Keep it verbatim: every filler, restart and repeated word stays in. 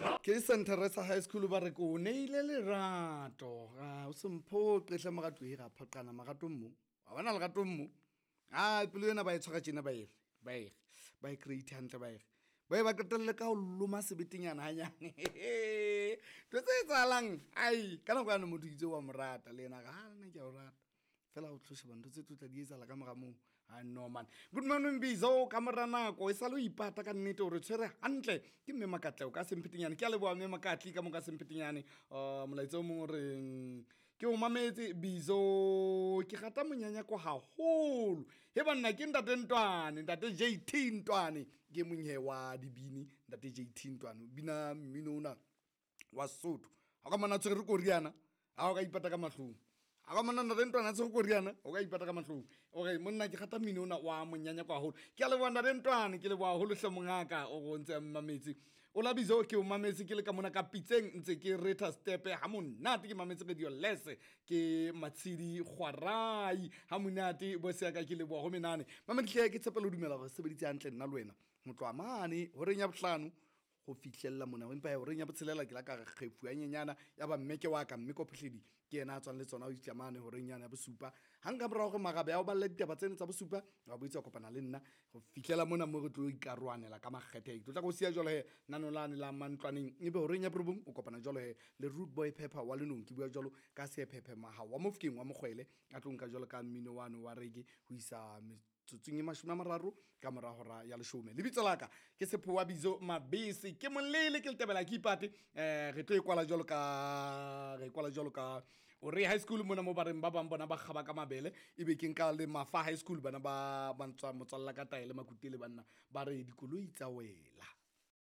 Ke Saint Teresa High School ba re ko neile lerato. Ah, o se mphoqe hle morato e ra phoqana maratong mo. Wa bona leratong mo. Ah, pelo ena ba e tshwara tjena ba e re, ba e re, ba e create hantle ba e re. Ba e ba qetelle ka ho loma sebetenyana hanyane. Ntho tse etsahalang, ai ka nako yane motho itse wa mo rata le yena a re ha nna ke a o rata. Fela o tlo sheba ntho tse tlo tla di etsahala ka mora moo. Ah no man. Good morning Bizo ka mora nako e sale o ipata ka nnete hore tshwere hantle ke mme Makatleho ka Semphetenyane. Ke a leboha mme Makatli ka mo ka Semphetenyane. Uh, molaetsa o mong o reng ke o mametse Bizo ke rata monyanyako haholo. He banna ke ntate Ntwane, ntate J T Ntwane ke mong he wa dibini, ntate J T Ntwane o bina mmino ona wa Sesotho. Ha ka mona tshwere koriana, ha o ka ipata ka mahlong. Ha ka mona ntate Ntwane a tshwere koriana, o ka ipata ka mahlong. O re monna ke rata mmino ona wa monyanyako haholo. Ke a leboha ntate Ntwane, ke leboha haholo hle mongaka o re o ntse a mmametse. O la Bizo ke o mametse ke le ka mona ka pitseng ntse ke retha stepe ha monate ke mametse radio lese ke Matshidi Kgwarai ha monate bo se ka ke leboha ho menane. Mamedi ke tshepelo dumela hore sebeditse hantle nna le wena. Ho tloha mane horeng ya bohlano ho fihlella mona empa horeng ya botshelela ke la ka re kgefu ya nyenyana ya ba mme ke wa ka mme Kophohledi ke yena a tswang le tsona o itla mane horeng yana ya bosupa. Hang ka morao hore marabe a o balle ditaba tsena tsa bosupa wa boitse kopana le nna ho fihlela mona mo re tlo ikarohanela ka makgethe. Ke tlo tla go siya jwalo he nanolane la mantlwaneng ebe horeng ya borobong o kopana jwalo he le Rude Boy Pepper wa Lenong. Ke bua jwalo ka Sephephe Maha wa Mofokeng wa Mokgwele a tlo nka jwalo ka mmino wane wa reggae ho isa tsotsong e mashome a mararo ka mora hora ya leshome. Lebitso la ka ke Sephowa Bizo Mabese ke molele ke letebela ke ipate. Eh re tlo e kwala jwalo ka re kwala jwalo ka o re high school mona mo bareng ba bang bona ba kgaba ka mabele ebe ke nka le Mafa High School bana ba ba ntswa motswalla ka taele Makutele banna ba re dikoloi tsa wela.